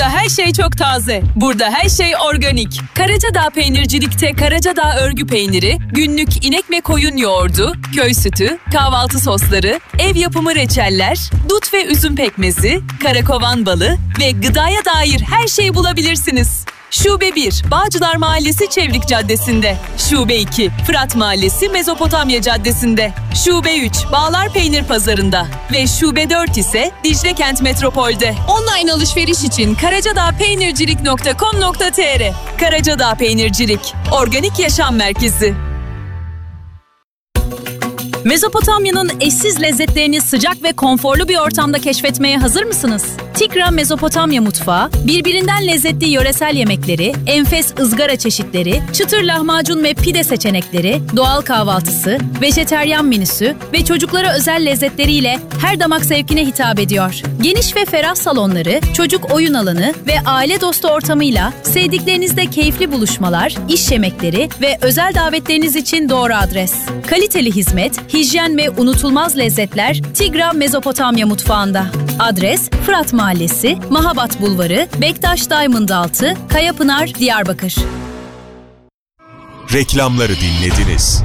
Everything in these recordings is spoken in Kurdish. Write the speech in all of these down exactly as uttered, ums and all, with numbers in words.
Her şey çok taze. Burada her şey organik. Karacadağ Peynircilik'te Karacadağ örgü peyniri, günlük inek ve koyun yoğurdu, köy sütü, kahvaltı sosları, ev yapımı reçeller, dut ve üzüm pekmezi, karakovan balı ve gıdaya dair her şeyi bulabilirsiniz. Şube bir, Bağcılar Mahallesi Çevrik Caddesi'nde. Şube iki, Fırat Mahallesi Mezopotamya Caddesi'nde. Şube üç, Bağlar Peynir Pazarı'nda. Ve Şube dört ise Dicle Kent Metropol'de. Online alışveriş için karacadağ peynircilik nokta com nokta tr. Karacadağ Peynircilik, organik yaşam merkezi. Mezopotamya'nın eşsiz lezzetlerini sıcak ve konforlu bir ortamda keşfetmeye hazır mısınız? Tigra Mezopotamya Mutfağı, birbirinden lezzetli yöresel yemekleri, enfes ızgara çeşitleri, çıtır lahmacun ve pide seçenekleri, doğal kahvaltısı, vejeteryan menüsü ve çocuklara özel lezzetleriyle her damak zevkine hitap ediyor. Geniş ve ferah salonları, çocuk oyun alanı ve aile dostu ortamıyla sevdiklerinizle keyifli buluşmalar, iş yemekleri ve özel davetleriniz için doğru adres. Kaliteli hizmet, hijyen ve unutulmaz lezzetler Tigra Mezopotamya Mutfağı'nda. Adres: Fırat Mahallesi, Mahabat Bulvarı, Bektaş Diamond Altı, Kayapınar, Diyarbakır. Reklamları dinlediniz.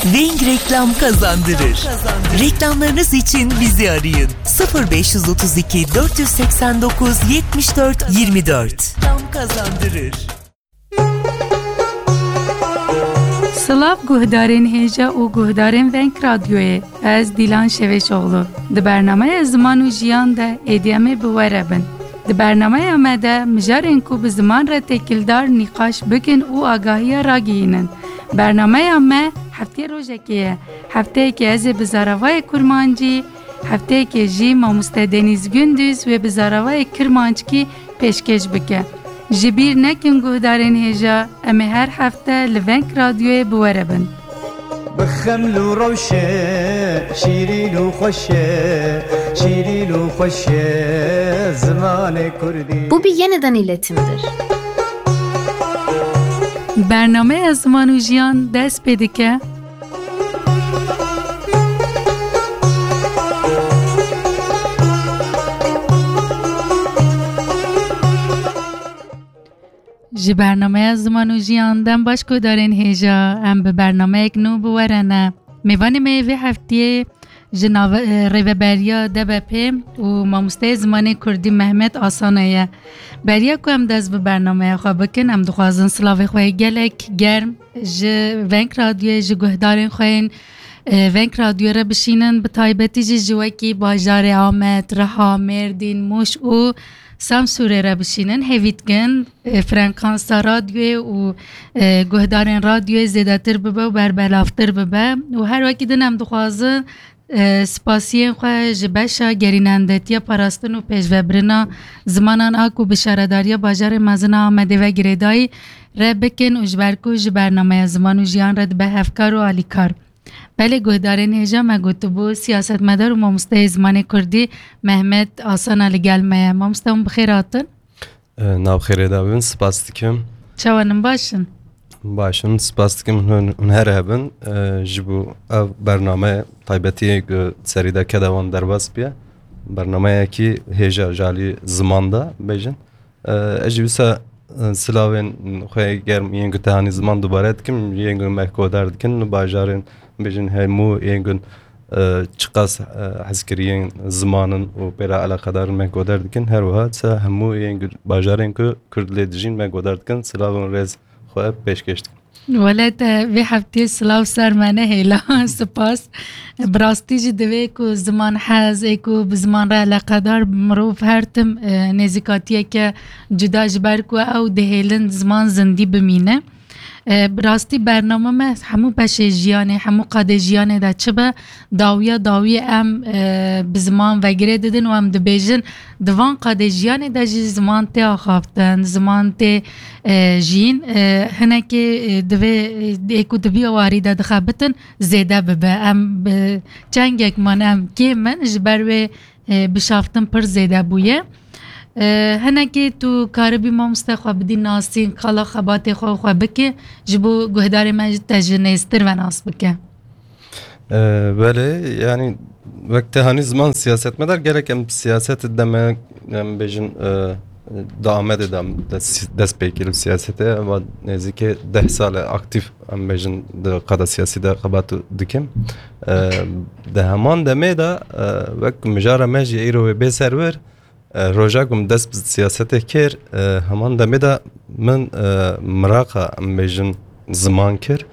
Weng Reklam kazandırır. Reklamlarınız için bizi arayın. Sıfır beş yüz otuz iki, dört yüz seksen dokuz, yetmiş dört, yirmi dört. Reklam kazandırır. Silav guhdarên hêja û guhdarên Weng Radyoyê. Ez Dîlan Şevêşoğlu. Di bernameya Ziman û Jiyan de êdî em ê bi we re bin. Di bernameya me de mijarên ku bi ziman re têkildar nîqaş bikin û agahiya ragihînin. Bernameya me heftê rojekê ye. Hefteyekê ez ê bi zaravayê kurmancî, hefteyekê jî mamoste Denîz Gündüz wê bi zaravayê kirmanckî pêşkêş bike. Ji bîr nekin guhdarên hêja, em ê her hefte li Weng Radyoyê bi we re bin. Bi xeml û rewşe, şîrîn û xweş e, şîrîn û xweş e zimanê kurdî. Bu bir yeniden iletimdir. Bernameya Ziman û Jiyan dest pê dike. Ji bernameya Ziman û Jiyan dem baş guhdarên hêja, em bi bernameyek nû bi we re ne. Mêvanê me yê vê heftiyê ji nave-, e, rêveberiya D B P û mamosteyê zimanê kurdî Mehmet Asana ye. Beriya ku em dest bi bernameya xwe bikin, em dixwazin silavê xwe yê gelek germ ji Weng Radyoyê, ji guhdarên xwe yên, e, Weng Radyoyê re bişînin, bi taybetî jî ji wekî bajarê Amed, Riha, Mêrdîn, Mûş û Samsûrê re bişînin. Hêvî dikin, e, frekansa radyoyê û, e, guhdarên radyoyê zêdetir bibe û berbelavtir bibe. Û her wekî din em dixwazin, e, spasiyên xwe ji beşa gerînendetiya parastin û pêşvebirina zimanan a ku bi şaredariya bajarê mezin a Amedê ve girêdayî re bikin û ji ber ku ji bernameya Ziman û Jiyan re dibe hevkar û alîkar. Belê guhdarên hêja, me gotibû, siyasetmedar û mamosteyê zimanê kurdî Mehmet Asana li gel me ye. Mamoste, hûn bi xêr hatin. E, nav xêrê de bin, spas dikim. Çawan in, baş in? Baş in, spas dikim, hûn, hûn her hebin. E, ji bo ev bername taybetî ku serî de keda wan derbas biye. Bernameyekî hêja ji alî ziman de bêjin. E, ez jî wisa, e, silavên xwe germ yên ku tehanî ziman dubare dikim, yên ku me guhdar dikin, li bajarên, bêjin, hemû yên ku, e, çiqas, e, hezkiriyên zimanin û pê re eleqedar in me guhdar dikin, her wiha se hemû yên ku bajarên ku Kurd lê dijîn me guhdar dikin, silavên rêz xwe pêşkêş dikim. Wele te vê heftiyê silav ser me nehêla. Spas. Bi rastî jî divê ku ziman hez ê ku bi ziman re eleqedar mirov her tim, e, nêzîkatiyeke cuda ji ber ku ew dihêlin ziman zindî bimîne. E, bi rastî bername me hemû beşê jiyanê, hemû qadê jiyanê de çi be, dawiya dawiyê em, e, bi ziman ve girê didin û em dibêjin, di van qadê jiyanê de jî ziman tê axaftin, ziman tê, e, jiyîn. E, hinekê, e, divê, e, ê ku di vî warî de dixebitin, zêde bibe. Em bi çengek man em kêm in, ji ber wê, e, bişaftin pir zêde bûye. E, hinekê tu karibî mamoste xwe bidî nasîn, qala xebatê xwe xwe bike, ji bo guhdarê me jî te ji nêztir ve nas bike. E, belê, yanî wek te hanî ziman siyasetmedar, gelek em siyaset de me, em bêjin, e, di Amedê de em des-, dest pê kir bi siyasetê, eva nêzîkê deh sal e aktîf, em bêjin, di qada siyasî de xebat dikim. E, di heman demê de, e, wek mijara me jî îro wê bê serwir, e, roja ku min dest bi siyasetê kir, e, heman demê de min, e, miraqa, em bêjin, ziman kir.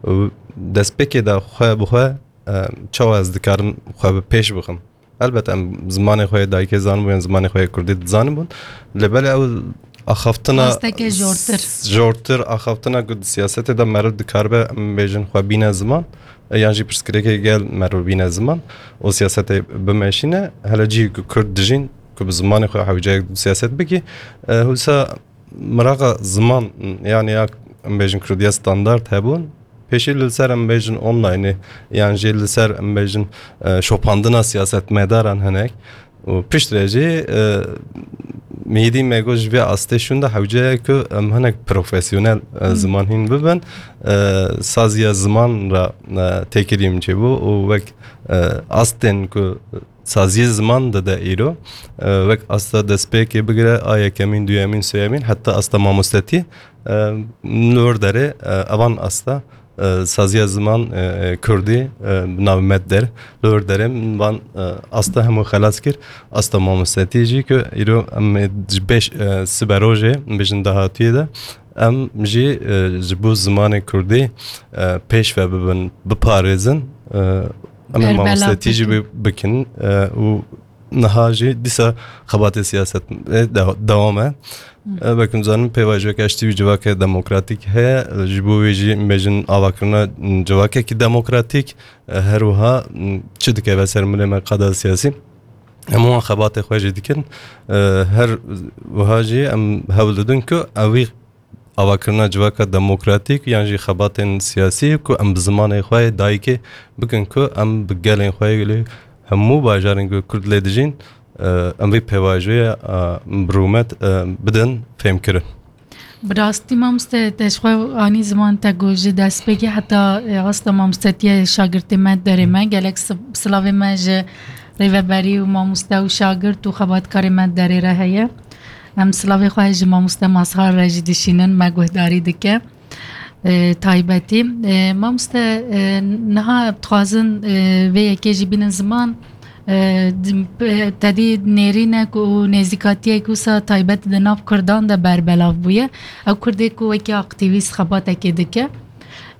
Û destpêkê de xwe bi xwe, e, çawa ez dikarim xwe bi pêş bixim? Elbet em zimanê xwe yê dayikê zanibûn, zimanê xwe yê kurdî dizanibûn. Lê belê ew axaftina Asteke jortir. jortir, axaftina ku di siyasetê de meriv dikaribe, em bêjin, xwe bîne ziman, e, yan jî pirsgirêkê gel meriv bîne ziman û siyasetê bimeşîne. Hele cihê ku kurd dijîn, ku bi zimanê xwe hewceyek siyaset bikî, e, wisa miraqa ziman, yanî ya em bêjin kurdiya standard hebûn, pêşî li ser em bêjin onlineê, yan jî li ser em bêjin, e, şopandina siyasetmedaran hinek. Û piştre jî, e, mîdî me got ji vê astê şûnde hewce ye ku em hinek profesyonel, e, Hmm. ziman hîn bibin. E, saziya ziman re, e, têkilî min çêbû û wek, e, astên ku saziyê ziman dide îro, e, wek asta destpêkê bigire, a yekemîn, duyemîn, sêyemîn, heta asta mamostetî, e, li wir derê, e, evan asta, e, saziya ziman, e, kurdî, e, bi navê Medder, li wir derê min van, e, asta hemû xelas kir, asta mamostetî jî ku îro em ê ji beş, e, siberojê, em bêjin dahatiyê de, em jî, e, ji bo zimanê kurdî, e, pêş ve bibin, biparêzin, e, em ê Berbela mamostetî jî bikin. bi-, bikin, e, û niha jî dîsa xebatê siyaset, e, de-, dewam e. Hı. E, wek em zanin pêvajoyeke ji tî wî civakê demokratîk heye, e, ji bo wê jî em bêjin avakirina civakekî demokratîk, e, her wiha, m, çi dikeve ser milê me qada siyasî. Em wan xebatê xwe jî dikin. E, her wiha jî em hewl didin ku ew wî avakirina civaka demokratîk yan jî xebatên siyasî ku em bi zimanê xwe yê dayikê bikin ku em bi gelên xwe yê li hemû bajarên ku kurd lê dijîn, e, em vê pêvajoyê, e, bi rûmet, e, bidin fêmkirin. Bi rastî mamoste te ji xwe anî ziman te ku ji destpêkê heta, e, asta mamostetiye şagirtê me derê me. Gelek si-, silavê me ji rêveberî û mamoste û şagirt û xebatkarê me derê re heye. Em silavê xwe ji mamoste Mazhar re jî dişînin, me guhdarî dike. E, taybetî. E, mamoste, e, niha dixwazin, e, vê yekê jî bînin ziman. E, di-, pe-, tedî nêrînek û nêzîkatiyek wisa taybet di nav kurdan de berbelav bûye. Ew kurdê ku wekî aktîvîst xebatekê dike.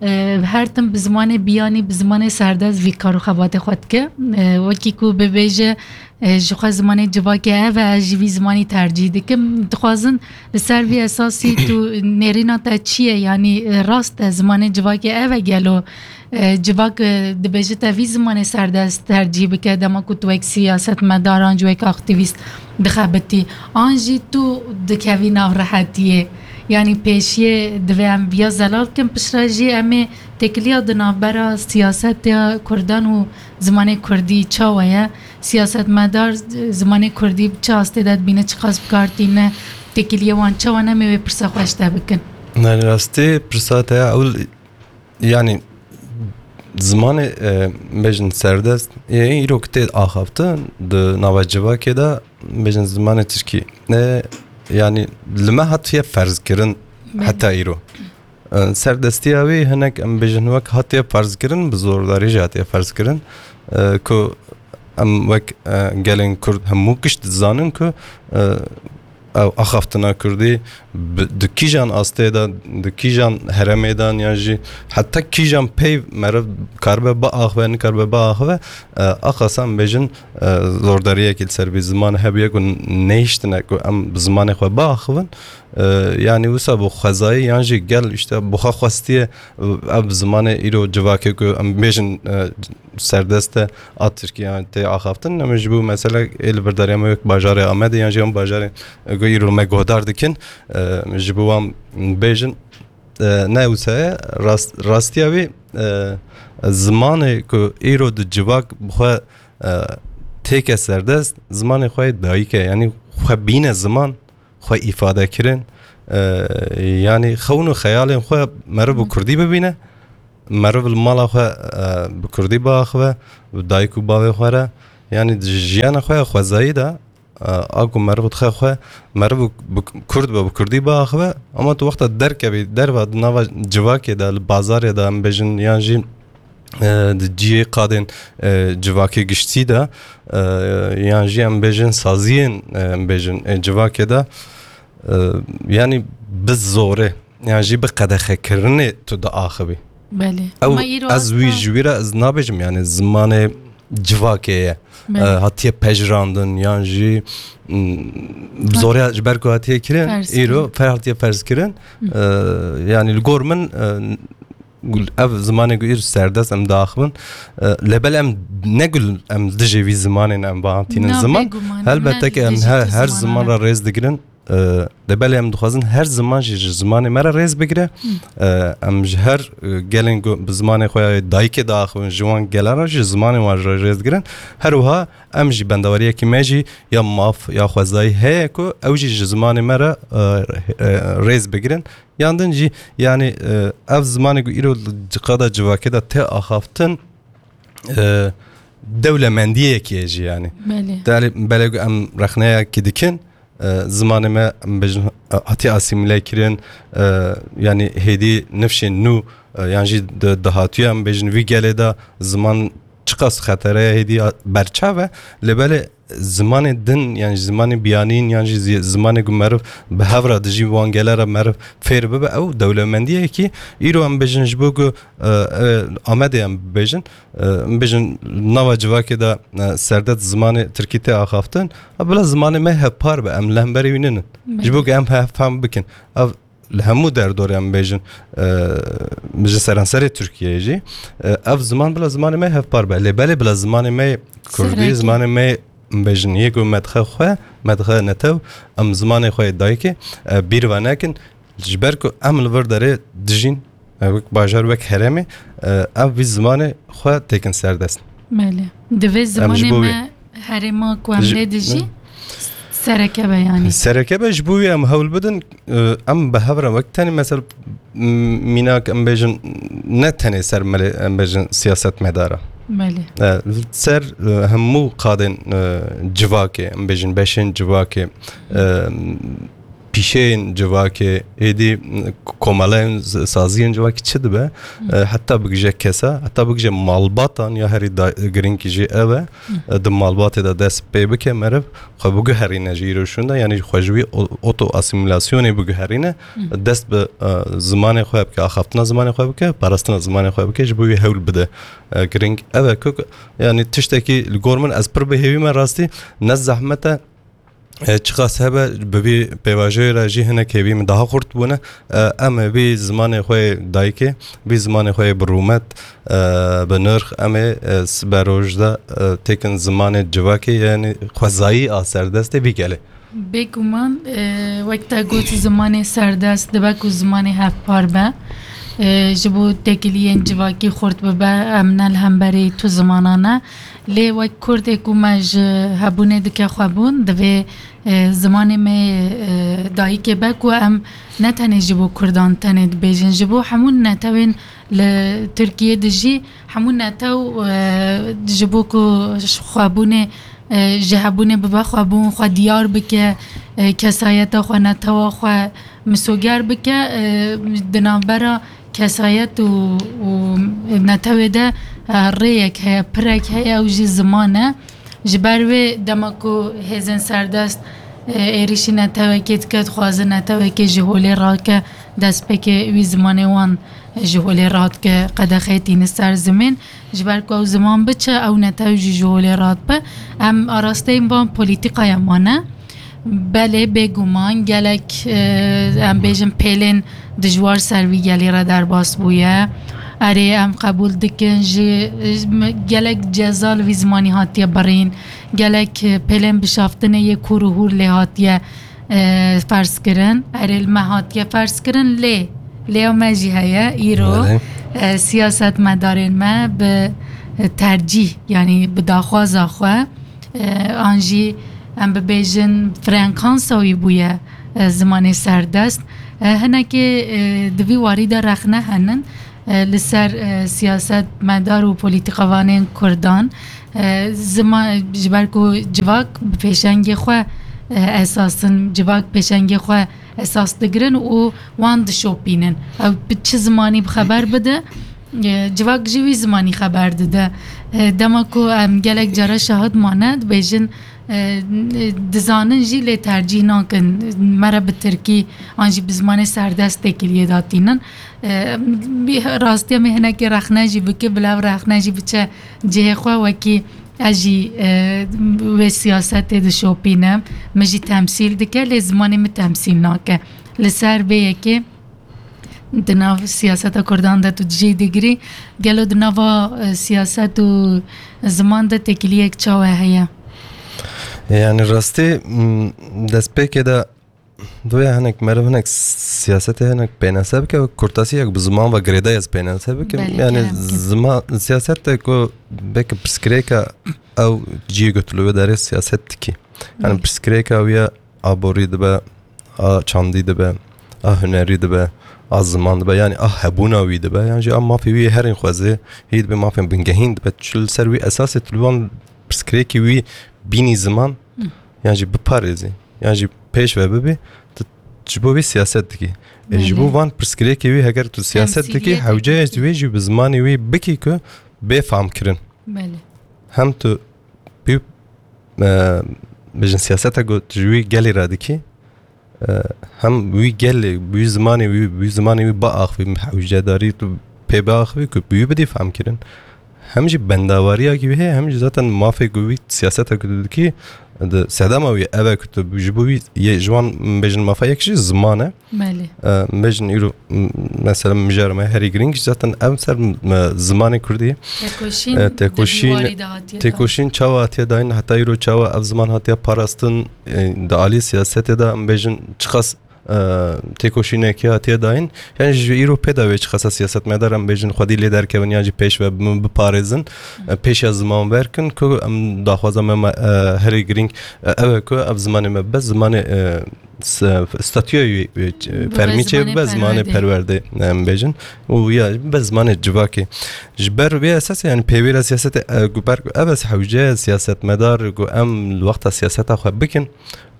E, her tim bi zimanê biyanî, bi zimanê serdest vî kar û xebatê xwe dike. E, wekî ku bibêje, e, ji xwe zimanê civakê ev e, ez jî vî zimanî tercîh dikim. Dixwazin li ser vî esasî tu nêrîna te çi ye? Yanî, e, rast e, zimanê civakê ev e gelo? E, civak, e, dibêje te vî zimanê serdest tercîh bike, dema ku tu wek siyasetmedar an jî wek aktîvîst dixebitî. An jî tu dikevî nav rehetiyê. Yanî pêşiyê divê em viya zelal bikin, piştre jî em ê têkiliya di navbera siyaseta kurdan û zimanê kurdî çawa ye? Siyasetmedar zimanê kurdî bi çi astê de dibîne, çiqas bi kar tîne, têkiliyê wan çawa ne, em ê wê pirsa xwe ji te bikin. Yanî rastî pirsa te ya ewil, yanî zimanê, e, bêjin serdest, e, îro ku tê axaftin di nava civakê de, bêjin zimanê tirkî. E, yanî li me hatiye ferzkirin Belê. heta îro. E, serdestiya wî hinek, em bêjin, wek hatiye ferzkirin, bi zordarî jî hatiye ferzkirin, e, ku em wek, e, gelên Kurd hemû giş dizanin ku, e, ew axaftina Kurdî bi, di kîjan astê de, di kîjan herêmê de, yan jî heta kîjan peyv meriv karibe biaxive, nikaribe biaxive, e, axasa em bêjin, e, zordariyekî li ser vî ziman hebûye ku nehiştine ku em bi zimanê xwe biaxivin. E, yanî wisa bi xwezayî yan jî gel, işte, bi xwe xwestiye, e, ev zimanê îro civakê ku em bêjin, e, serdest e a Tirkiye tê axaftin. Em ji bo mesela ê li vir dariya me wek bajarê Amedê yan jî em bajarê, e, ku îro me guhdar dikin, e, ji bo wan bêjin, e, ne wisa ye, rast-, rastiya wî, e, zimanê ku îro di civak bi xwe, e, têke serdest, zimanê xwe yê dayik e, yanî xwe bîne ziman, xwe îfade kirin, e, yanî xewn û xeyalên xwe meriv bi kurdî bibîne, meriv li mala xwe e, bi kurdî biaxive, bi dayik û bavê xwe re, yanî di jiyana xwe ya xwezayî de, e, a ku meriv dixe xwe, meriv bi kurd be, bi kurdî biaxive, ama tu wexta derkevî, derva di nava civakê de, li bazarê de, em bêjin, yan jî e, di cihê qadên e, civakê giştî de, e, yan jî em bêjin saziyên, e, em bêjin e, civakê de, e, yanî bi zorê, yan jî bi qedexekirinê tu diaxivî. Belê. Ew, ama îro ez wî heta ji wî re ez nabêjim, yanî zimanê civakê ye. Belê. E, hatiye pejirandin, yan jî, m, bi zorê ji ber ku hatiye kirin, îro fer hatiye ferz kirin. E, yanî li gor min, e, ev zimanê ku îro serdest em diaxivin, e, lê belê em ne ku em dijî vî zimanê ne, em bihatînin ziman. Helbette ki em her, her ziman re rêz digirin. E, lê belê em dixwazin her ziman jî ji zimanê me re rêz bigire. E, em ji her, e, gelên ku bi zimanê xwe ya dayikê diaxivin, ji wan gelan re jî zimanê wan re rêz digirin. Her wiha em jî bendewariyekî me jî ya maf, ya xwezayî heye ku ew jî ji zimanê me re, e, e, rêz bigirin. Yan din jî, yanî, e, ev zimanê ku îro li qada civakê de tê axaftin, e, dewlemendiyekê ye jî, yanî. Belê. Belê, belê ku em rexneyekî dikin, e, zimanê me, em bêjin, e, hatiye asîmîle kirin, e, yanî hêdî nifşên nû, e, yan jî di, di hatiye, em bêjin, vî gelê de ziman çiqas xetere ye, hêdî berçav e, lê belê zimanê din, yan jî zimanê biyanîn, yan jî zi-, zimanê ku meriv bi hev re dijî, wan gele re meriv fêr bibe, ew dewlemendiyekî îro em bêjin ji bo ku, e, e, Amedê em bibêjin, e, em bêjin nava civakê de, e, serdest zimanê tirkî tê axaftin, e, bila zimanê me hevpar be, em li hemberî wî ninin. Ji bo ku em hev fehm bikin. Ev li hemû derdorê em bêjin, e, ji seranserê Tirkiyeyê jî, e, ev ziman bila zimanê me hevpar be. Lê belê bila zimanê me kurdî, zimanê me em bêjin yê ku me dixe xwe, me dixe netew, em zimanê xwe yê dayikê, e, bîr ve nekin. Ji ber ku em li vir derê dijîn, e, wek bajar, wek herêmê, e, em vî zimanê xwe têkin serdest. Belê. Divê zimanê me herêma ku em lê dijî sereke be, yanî. Sereke be, ji bo wî em hewl bidin, e, em bi hev re wek tenê, mesela, m-, mînak em bêjin, ne tenê ser melê, em bêjin, siyasetmedara. Belê. E, ser, e, hemû qadên, e, civakê, em bêjin, beşên civakê, e, pîşeyên civakê, êdî komeleyên z-, saziyên civakê çi dibe, e, heta bigije kesa, heta bigije malbatan ya herî da-, girîng jî ev e, e, di malbatê de dest pê bike meriv, xwe biguherîne ji îro şûnde, yanî xwe ji wî o-, oto asîmîlasyonê biguherîne, dest bi, e, zimanê xwe bike, axaftina zimanê xwe bike, parastina zimanê xwe bike, ji bo wî hewl bide. E, girîng ev e ku, yanî tiştekî li gor min ez pir bi hêvî me rastî, ne zehmet e, e, çiqas hebe bi vî pêvajoyê re jî hinek hêvî min daha xurt bûne. E, em ê vî zimanê xwe yê dayikê, vî zimanê xwe yê bi rûmet, e, bi nirx, em ê, e, sibe roj de, e, têkin zimanê civakê, yanî xwezayî a serdestê vî gelê. Bêguman, e, wek te got, zimanê serdest dibe ku zimanê hevpar be. E, ji bo têkiliyên civakî xurt bibe, em ne li hemberî tu zimana ne. Lê wek Kurdê ku me ji hebûnê dike xwebûn, divê, e, zimanê me yê, e, dayikê be ku em ne tenê ji bo Kurdan tenê dibêjin, ji bo hemû netewên li Tirkiyê dijî, hemû netew, e, ji bo ku xwebûnê, e, ji hebûnê bibe xwebûn, xwe diyar bike, e, kesayeta xwe, netewa xwe misoger bike, e, di navbera kesayet û, û netewê de, e, rêyek heye, pirek heye, ew jî ziman e. Ji ber wê dema ku hêzên serdest, e, êrîşî netewekê dike, dixwaze netewekê ji holê rake, destpêkê wî zimanê wan ji holê radike, qedexeyê tîne ser zimên. Ji ber ku ew ziman biçe, ew netew jî ji holê radibe. Em arasteyên van polîtîkaya mane. Belê, bêguman gelek, e, em bêjin pêlên dijwar ser vî gelî re derbas bûye. Erê, em qebûl dikin jî, e, gelek ceza li vî zimanî hatiye birîn. Gelek, e, pêlên bişaftinê yê kûr û hûr lê hatiye, e, ferz kirin. Erê, li me hatiye ferz kirin, lê, lêya me jî heye. Îro, e, siyasetmedarên me bi, e, tercîh, yanî bi daxwaza xwe, e, an jî em bibêjin frekansa wî bûye, e, zimanê serdest. E, hinekê, e, di vî warî de rexne henin. e, li ser, e, siyasetmedar û polîtîkavanên Kurdan. E, ziman, ji ber ku civak bi pêşengê xwe, e, esas in, civak pêşengê xwe esas digirin û wan dişopînin. Ew bi çi zimanî bi xeber bide, e, civak ji wî zimanî xeber dide. E, dema ku em gelek cara şahid mane, dibêjin, e, dizanin jî lê tercîh nakin. Me re bi tirkî an jî bi zimanê serdest têkiliyê datînin. E, bi-, rastiya me hinekî rexne jî bike, bila ev rexne jî biçe cihê xwe wekî ez jî, e, wê siyasetê dişopînim. Min jî temsîl dike, lê zimanê min temsîl nake. Li ser vê yekê di nav siyaseta Kurdan de tu cî digirî, gelo di nava, e, siyaset û ziman de têkiliyek çawa heye? Yani rastî, m, destpêkê de Divê hinek meriv hinek siyasetê hinek pênase bike, kurtasiyek bi ziman ve girêdayî ez pênase bikim. Belê, yani kerem, kerem. Zima, siyaset de ku belki pirsgirêka ew cihê ku tu li wê derê siyaset dikî. Yani Belê. Pirsgirêka wî ya aborî dibe, a çandî dibe, a hunerî dibe, a ziman dibe, yani a hebûna wî dibe, yani jî a mafê wî herên xwezê, hî dibe mafên bingehîn dibe, tu li ser wî esasê tu li wan pirsgirêkî wî bînî ziman, Hı. yan jî biparêzî. Yan jî pêş ve bibî, tu ji bo wî siyaset dikî. E, ji bo Belê. Van pirsgirêkê wî heger tu siyaset dikî, Temsîliyetê hewce ye dikî. Tu wê jî bi zimanê wî bikî ku bê famkirin. Belê. Hem tu pî, e, bêjin siyaseta ku tu ji wî gelê re dikî, e, hem wî gelê, wî zimanê wî, wî zimanê wî biaxivî, hewcedarî tu pê biaxivî ku bi wî bidî famkirin. Hem jî bendawariyakî wî heye, hem jî zaten mafê ku wî siyaseta ku tu dikî, di sedema wî ev e ku tu ji bo wî yê ji wan bêjin mafa yek jî ziman e. Belê. E, bêjin îro, m-, mesela mijarê me herî girîng jî zaten ev ser, m-, zimanê kurdî ye. Têkoşîn E, di têkoşîn, dîwarî de hatiye dayîn. Têkoşîn çawa hatiye dayîn, heta îro çawa ev ziman hatiye parastin, e, di alî siyasetê de em bêjin çiqas e, têkoşînekî hatiye dayîn. Yani ji îro pê de wê çiqasa siyasetmedar em bêjin xwedî lê derkevin yan jî pêş ve bi-, biparêzin, e, pêşiya ziman ver kin ku em daxwaza me, me, e, herî girîng, e, ew e ku ev zimanê me bibe zimanê, e, s-, statûya wî, wî, e, Bibe fermî çê zimanê bibe, zimanê perwerdê. Perwerdê, em bêjin. Û ya bibe zimanê civakê. Ji ber vê esasê, yani pêwîra siyasetê, e, ku ber ku ev ez hewce siyasetmedar ku em li wexta siyaseta xwe bikin,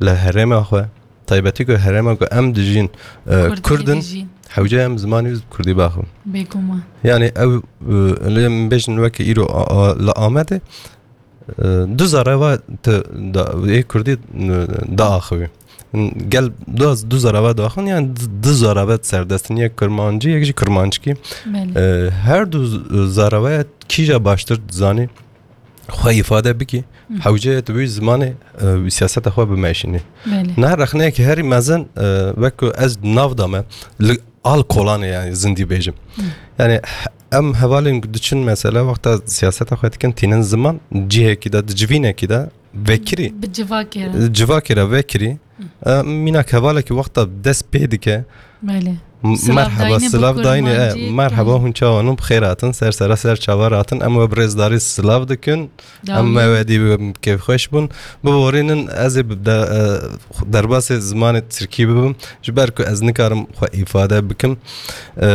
li herêma xwe, taybetî ku herêma ku em dijîn, e, Kurdî Kurd in, dijîn. Hewce em zimanî bi Kurdî biaxivin. Bêguman. Yani ew, e, lê em bêjin weke îro a, a, li Amedê, e, du zareva te da, ê Kurdî, e, diaxivî. Gel du, du zareva diaxivin, yani du, du zareva serdestin, yek Kirmancî, yek jî Kirmanckî. Belê. E, her du z-, zarevaya kîja baştir dizanî, xwe îfade bikî, Hı. hewce ye tu wî zimanê, e, wî siyaseta xwe bimeşînî. Belê. Niha rexneyekî herî mezin, e, wek ku ez nav dame, li al kolanê yani zindî bêjim. Hı. Yani em hevalên diçin mesela wexta siyaseta xwe dikin tînin ziman, cihekî de, di civînekî de vekirî. Bi civakê re. Civakê re vekirî. Hı. E, mînak hevalekî wexta dest pê dike, Belê. M-, Silav merheba, dayînê bi silav dayînê, e, Kurmancî, merheba, belê. Hûn çawa nû bi xêr hatin, ser sera ser çava hatin, em we bi rêzdarî silav dikin, Dawî. Em me wedî bi kêfxweş bûn. Biborînin, ez ê bi de, e, derbasê zimanê tirkî bibim, ji ber ku ez nikarim xwe îfade bikim. E,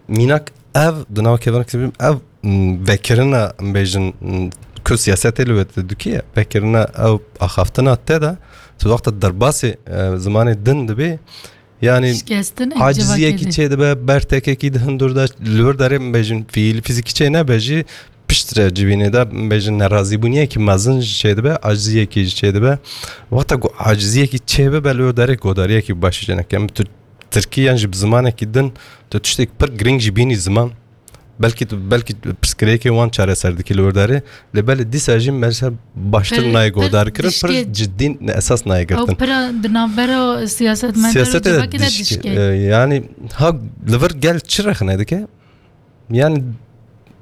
mînak ev, di nav kevin ev, m, vekirina, em bêjin, m, ku siyasetê li wê te dikî, vekirina ew axaftina te de, tu wexta derbasê, e, zimanê din dibê, yani Şikestin ê civakê aciziyekî de. Çê dibe, bertekekî di hundur de, li wir derê em bêjin fiîl, fizîkî çê nebe jî, piştre civînê de em bêjin nerazîbûniyekî mezin jî çê dibe, aciziyekî jî çê dibe. Wexta ku aciziyekî çê bibe, li wir derê godariyekî baş jê neke. Em tu tirkî yan jî bi zimanekî din, tu tiştek pir girîng jî bînî ziman. Belkî tu, belkî tu pirsgirêkê wan çareser dikî li wir derê. Lê belê dîsa jî mesela baştir Pir, nayê pir godarkirin, pir dişkê. Cidî esas nayê Ew girtin. Pira di navbera siyasetmedar û Siyasetê de civakê de dişkê, dişkê. E, yani ha li vir gel çi rexne dike? Yani,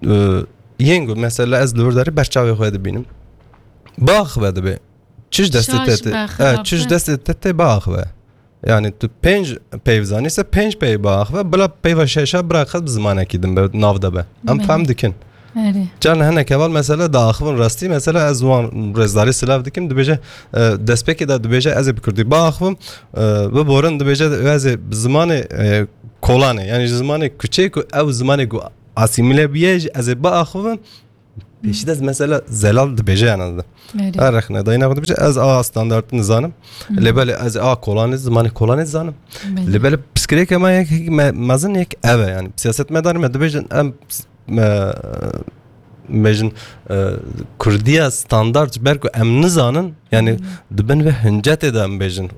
e, yên ku mesela ez li wir derê ber çavê xwe dibînim. Biaxive dibe. Çi ji destê Şaş te tê, be, e, xirab çi ji be. Destê te tê biaxive. Yani tu pênc peyv zanî se pênc peyv biaxive, bila peyva şeşa biraxet bi zimanekî din be, nav de be. Em Belê. Fehm dikin. Erê. Carna hinek heval mesela diaxivin rastî, mesela ez wan rêzdarî silav dikim, dibêje, e, destpêkê de dibêje ez ê bi kurdî biaxivim, e, biborin dibêje ez ê bi zimanê, e, kolanê, yani ji zimanê kuçê ku ew zimanê ku asîmîle bûye jî ez ê biaxivim. Pêşî de mesela zelal dibêje, yani, Erê. Her rexne dayîna xwe dibêje, ez a standart nizanim. Lê belê ez a kolanê, zimanê kolanê dizanim. Belê. Lê belê pirsgirêke me yek me-, mezin yek ev e, yani. Siyasetmedarê me dibêjin, em, me, bêjin, e, Kurdiya standart ji ber ku em nizanin, yani, di bin vê hincetê de em bêjin,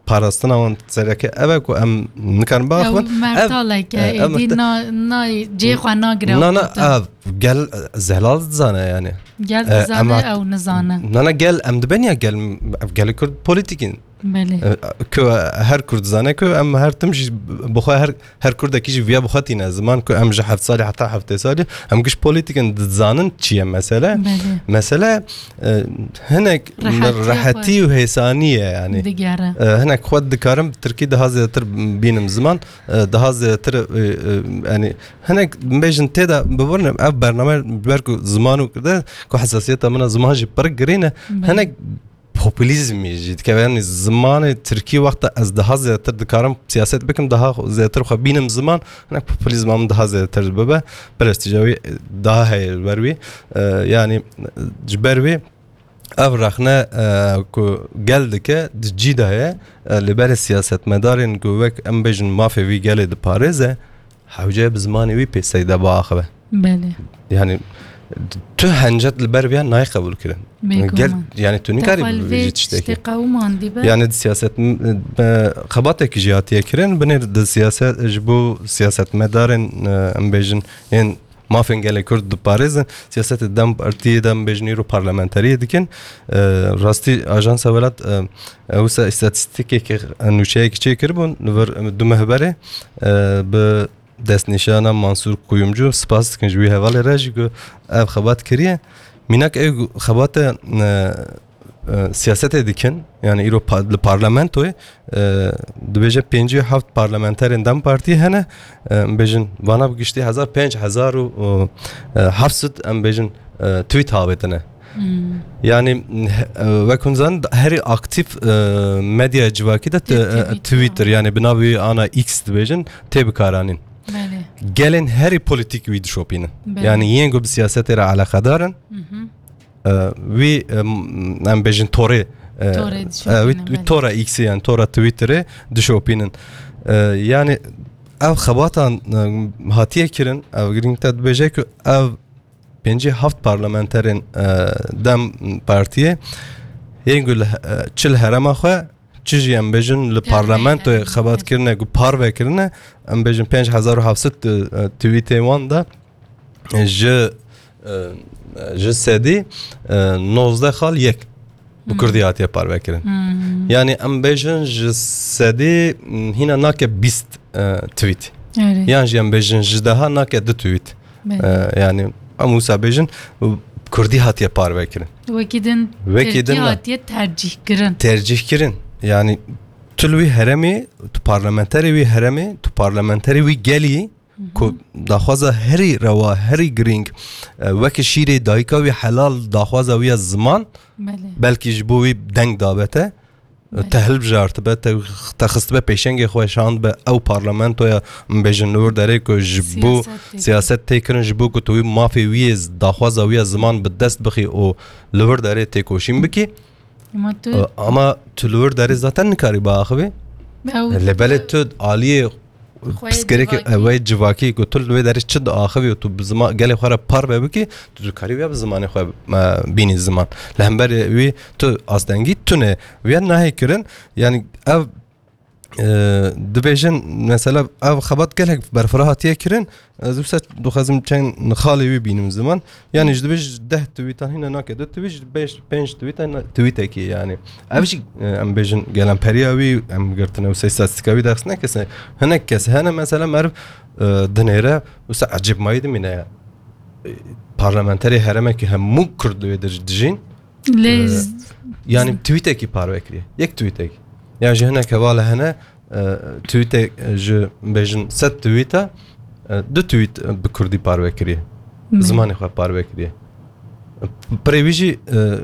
parastina wan sereke ev e ku em nikarin biaxivin. Ew mertalek e, Ev, e, ev êdî mertal- na, na cihê xwe nagire Na, na, ev gel zelal dizane, yani. Gel E, dizane, em hat- ew nizane. Na, na, gel em dibên ya gel, ev gelê Kurd polîtîk in. Belê. E, ku her Kurd dizane ku em her tim jî bi xwe, her, her Kurdekî jî viya bi xwe tîne ziman ku em ji heft salî heta heftê salî em giş polîtîk in, dizanin çi ye mesele. Belê. Mesele, e, hinek Rehetî rehetî xwe. û hêsanî ye, yani. Digere. E, hinek xwe dikarim tirkî daha zêdetir bînim ziman, e, daha zêdetir, e, e, yani hinek bêjin tê de bibirin ev bername ji ber ku ziman û kirde ku hesasiyeta min a ziman jî pir girîn e. Belê. Hinek populîzmî jî dikeve, yani zimanê tirkî wexta ez daha zêdetir dikarim siyaset bikim, daha zêdetir xwe bînim ziman, hinek populîzma min daha zêdetir bibe, prestîja wî daha heye li ber wî. E, yani ji ber wî ev rexne, e, ku gel dike di cî de ye, e, li berê siyasetmedarên ku wek em bêjin mafê vî gelê diparêze, hewce bi zimanê wî pêseyde biaxive. Belê. Yani tu hencet li ber viya nayê qebûl kirin. Bêguman. Gel, yani tu nikarî Te xwe li vê vê jî tiştekî. Tiştê qewimandî be. Yani di siyaset, e, xebatekî jî hatiye kirin. Binêr di siyaset, ji bo siyasetmedarên, e, em bêjin, yên mafên gelê Kurd diparêzin. Siyasetê DEM Partiyê de em bêjin îro parlamenteriyê dikin. E, rastî Ajansa Welat, e, e, wisa îstatîstîkekê, e, nûçeyekî çêkiribûn li vir, e, du meh berê, e, bi destnîşana Mansûr Kuyumcu, spas dikin ji wî hevalê re jî ku ev xebat kiriye. Mînak ew xebate, e, e, siyasetê dikin, yani îro pa-, li parlamentoyê, e, dibêje pêncî û heft parlamenterên DEM Partiyê hene, e, em bêjin vana bi giştî hezar, pênc hezar û, e, heft sed, em bêjin, e, tweet avêtine. Hmm. Yani, e, wek hûn zanin, herî aktîf, e, medya civakî de te-, Te-, e, Twitter, Twitter, yani bi navê ana X dibêjin, tê bikaranîn. Belê. Gelên herî polîtîk wî dişopînin. Belê. Yani yên ku bi siyasetê re eleqedar in, Mhm. e, wî, e, m-, em bêjin torê, e, Torê e, wî, dişopînin, wî belê. Tora X'ê, yani tora Twitterê dişopînin. E, yani ev xebatan, e, hatiye kirin, ev girîng te dibêje ku ev pêncî heft parlamenterên, e, DEM Partiyê yên ku li, e, çi li herêma xwe, çi jî em bêjin li Tevlî parlamentoyê kirin, xebat evet. kirine, ku parve kirine, em bêjin pênc hezar û heft sed, e, tweetê wan de, e, ji, e, ji sedî, e, nozdeh xal yek bi Hmm. kurdî hatiye parve kirin. Hmm. Yani em bêjin ji sedî, m, hîna nake bîst, e, tweet. Erê. Yan jî em bêjin ji deha nake du tweet. Belê. E, yani em wisa bêjin, kurdî hatiye parve kirin. Wekî din Wekî Tirkî din ne. hatiye tercîh kirin. Tercîh kirin. Yani tu li wî herêmê, tu parlamenterê wî herêmê, tu parlamenterê wî gelî, Hı hı. ku daxwaza herî rewa, herî girîng, e, weke şîrê dayika wî helal daxwaza wî ya ziman, Belê. belkî ji bo wî deng dabete, Belê. te hilbijartibe, te, te xistibe pêşengê xwe şandibe ew parlamentoya, em bêjin li wir derê ku ji bo Siyaset tê siyaset tê kirin, ji bo ku tu wî mafê wî yê z-, daxwaza wî ya ziman bi dest bixî û li wir derê têkoşîn bikî. Ama tu E, ama tu li wir derê zaten nikarî biaxivî. Ew Lê belê tu aliyê Xweyê pirsgirêkê civakî. Ew ê civakî ku tu li wê derê çi diaxivî û tu bi zima-, gelê xwe re parve bikî, tu dikarî viya bi zimanê xwe, e, bînî ziman. Li hemberî wî tu astengî tune. Viya nahê kirin, yani ev, e, dibêjin, mesela ev xebat gelek berfireh hatiye kirin, ez wisa dixwazim çend xalê wî bînim ziman. Yani ji dibêj deh tweetan hîna nake du tweet, ji pênc, pênc tweetan na-, tweetekî yani. Ev jî, e, em bêjin gelemperîya wî, em girtine wisa îstatîstîka wî ders nekese. Hinek kes hene mesela meriv, e, dinêre wisa ecêbmayî dimîne ya. E, parlamenterê herêmekî hemû kurd li wê dir-, dijîn. Lê E, z- yani tweetekî parve kiriye. Yek tweetek. Yani ji hinek hevala hene, e, tweetek, e, ji bêjin sed tweeta, e, du tweet, e, bi kurdî parve kiriye. Bi Belê. zimanê xwe parve kiriye. Pirê wî jî, e,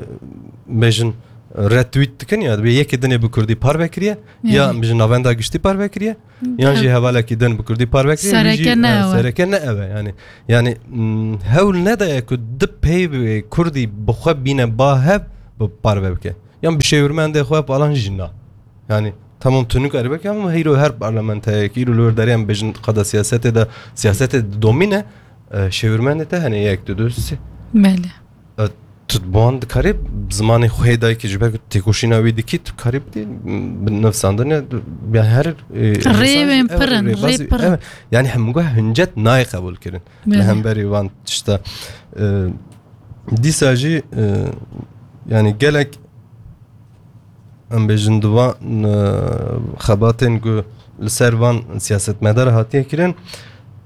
bêjin retweet dikin ya, dibê yekê dinê bi kurdî parve kiriye, ya, yani, em bijin navenda giştî parve kiriye, yan jî hevalekî din bi kurdî parve kiriye, wî jî, sereke ne, e, ew e. Sereke ne ew e. Yani, yani, mm, hewl nedaye ku di peyvê kurdî bi xwe bîne ba hev bi parve bike. Yan bi şêwirmendê xwe falan jî na. Yani, tamam, tu nikare bike, ama heyro her parlamenterek îro li wir derê em bêjin qada siyasetê de, siyasetê de domîne, e, şêwirmendê te hene yek, du, du, sê. Belê. E, tu bi wan dikarî zimanê xwe hê dayikê ji ber ku têkoşîna wî dikî, tu karî bidî, bi nivsandinê, yani her, e, rêwên pir in, rêbazî, rê pir in. Evet. Yani hemû hincet nayê qebûl kirin. Belê. Li hemberî van tişta. E, dîsa jî, e, yani gelek em bêjin di van, e, xebatên ku li ser van siyasetmedar hatiye kirin,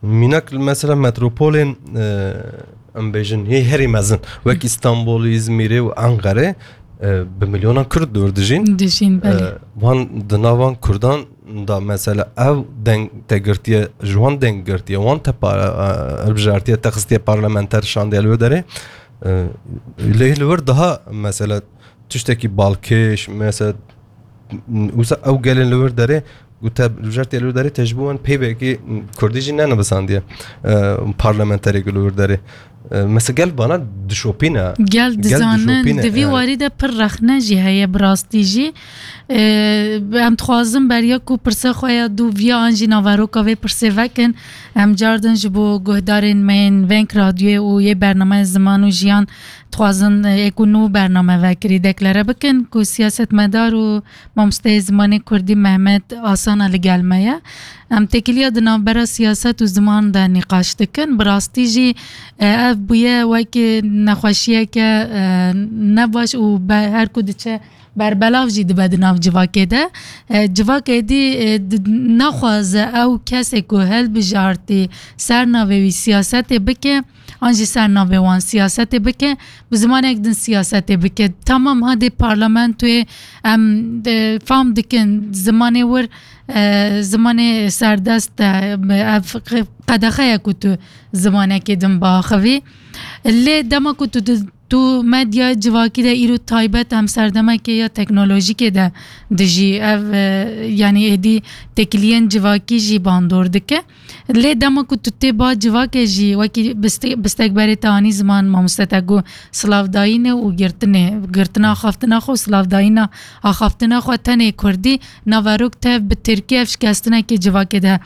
mînak li mesela metropolên, e, em bêjin yê herî mezin, wek Îstanbulê, Îzmîrê û Enqerê, e, bi milyonan Kurd dor dijîn. Dijîn, belê. E, wan di nav van Kurdan da mesela ev deng te girtiye, ji wan deng girtiye, wan te pa-, e, hilbijartiye, te xistiye parlamenter şandiye li wir derê. E, lê li wir daha mesela tiştekî balkêş, mesela, wisa ew gelên li wir derê, ku te li jer tê li wir derê, te ji bo wan peyvekî kurdî jî nenivisandiye, e, parlamenterê ku li wir derê. E, mesela gel vana dişopîne. Gel dizanin, dişopîne, di vî yani. Warî de pir rexne jî heye bi rastî jî. E, em dixwazin beriya ku pirsa xwe ya dûviya an jî naveroka vê pirsê vekin. Em cardin ji bo guhdarên me yên Veng Radyoyê û yê bernameya Ziman û Jiyan dixwazin, e, ê ku nû bername vekirî deklare bikin ku siyasetmedar û mamosteyê zimanê kurdî Mehmet Asana li gel me ye. Em têkiliya di navbera siyaset û ziman de nîqaş dikin. Bi rastî jî, e, ev bûye wekî nexweşiyeke, e, nebaş û be-, her ku diçe berbelav jî dibe di nav civakê de. E, civak êdî, e, di-, naxwaze ew kesê ku hilbijartî ser navê wî siyasetê bike, an jî ser navê wan siyasetê bike, bi zimanek din siyasetê bike. Tamam, hadê parlamentoyê em, e, fam dikin zimanê wir, e, zimanê serdest e, ev qe-, qedexe ye ku tu zimanekê din biaxivî. Lê dema ku tu di-, tu medya civakî de îro taybet em serdemekê ya teknolojîkê de dijî, ev, e, yanî êdî têkiliyên civakî jî bandor dike. Lê dema ku tu tê ba civakê jî wekî biste-, bistekberê te anî ziman, mamoste te got silavdayînê û girtinê, girtina axaftina xwe û silavdayîna axaftina xwe tenê kurdî, naverok tev bi tirkî ev şikestinekê civakê de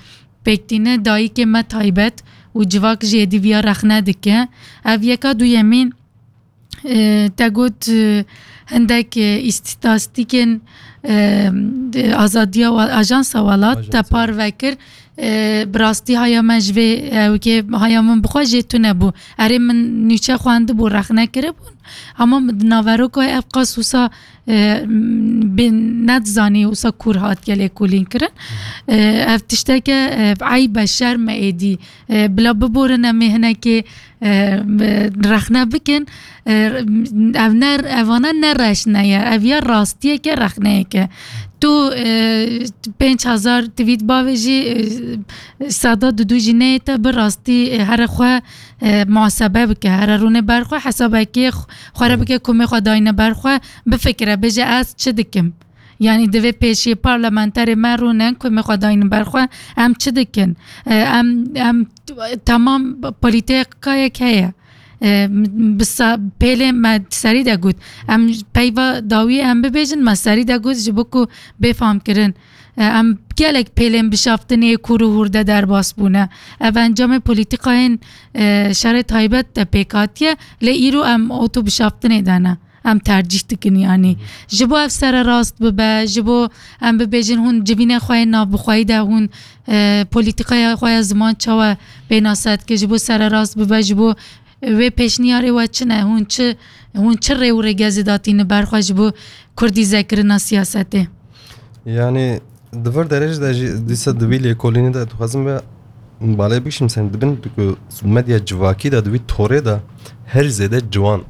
pêk tîne, dayikê me taybet û civak jî êdî viya rexne dike. Ev yeka, duyemîn, e, te got, e, hindek, e, îstîtastîkên, e, de, Azadiya Wa-, Ajansa Welat te parve kir. E, bi rastî haya me ji vê, e, wekê haya min bi xwe jê tune bû. Erê, min nûçe xwendibû, rexne kiribûn. Hema min di naveroka ev qas wisa, e, bê nedizanî wisa kûr hatiye lêkolîn kirin. E, ev tişteke, e, eyb e, şerm e êdî. E, bila biborin em ê hinekê, e, rexne bikin. E, ev ne, evana ne reşne ye. Ev ya rastiyeke, rexneyeke. Tu, e, pênc hezar tweet bavêjî, e, seda didu jî neyê te, bi rastî, e, here xwe, e, muhasebe bike, here rûne ber xwe, hesabekê xwe re bike, komê xwe dayne ber xwe, bifikire, bêje, ez çi dikim? Yanî divê pêşî parlamenterê me rûnin, komê xwe daynin ber xwe, em çi dikin? E, em, em, temam polîtîkayek heye. E, bi sa-, pêlê me serî de got. Em peyva dawî em bibêjin, me serî de got, ji bo ku bê famkirin. E, em gelek pêlên bişaftinê kûr û hûr de derbas bûne. Ev encamê polîtîkayên, e, şerê taybet de pêk hatiye, lê îro em oto bişaftinê de ne. Em tercîh dikin, yanî. Ji bo ev sererast bibe, ji bo em bibêjin hûn civînê xwe yê navbixweyî de hûn, e, polîtîkaya xwe ya ziman çawa pênase dike, ji bo sererast bibe, ji bo wê pêşniyarê we çi ne, hûn çi, hûn çi rê û rêgezê datîne ber xwe ji bo kurdîzekirina siyasetê? Yanî, di vir derê jî de jî dîsa di vî lêkolînê de dixwazim ve balê bikişim, sen dibin ku medya civakî de di vî torê de her zêde ciwan,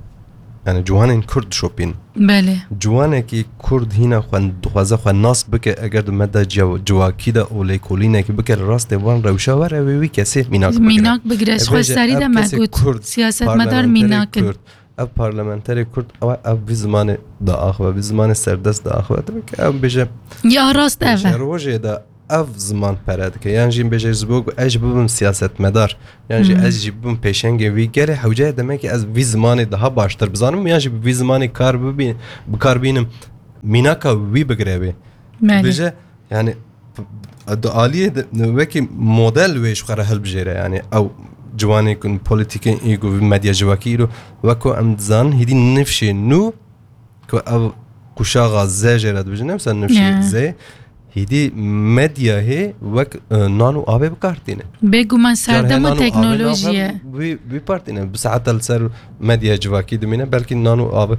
yani ciwanên kurd dişopîn. Belê. Ciwanekî kurd hîna xwe dixwaze xwe nas bike, eger di medya civ-, civakî de û lêkolînekî bike, li rastê van rewşa were, wê wî kesê mînak bigire. Mînak bigire, ji xwe serî de me got, siyasetmedar mînak in. Kurd, ev parlamenterê Kurd ew, ev vî zimanê diaxive, vî zimanê serdest diaxive. Tabii ki ew bêje, Ya rast ev e. Bêje rojê de ev ziman pere dike. Yan jî bêje ji bo ku ez jî bibim siyasetmedar. Yan jî Hmm. ez jî bibim pêşengê vî gelê hewce demekî ez vî zimanê daha baştir bizanim. Yan jî bi vî zimanê kar bibî-, bi kar bînim. Mînaka wî bigire wê. Belê. Bêje, yani, di aliyê de wekî model wê ji xwe re hilbijêre. Yani, ew ciwanê ku polîtîkên î ku medya civakî îro wek ku em dizanin hîdî nifşê nû ku ev kuşaxa Z jê re dibêjin, ne mesela nifşê Ya. Z, hîdî medyayê wek, e, nan û avê bi kar tîne. Bêguman Car serdema hê nan û avê teknolojiyê. navxwe wî, wî par tîne. Bi saeta li ser medyaya civakî dimîne, belkî nan û avê,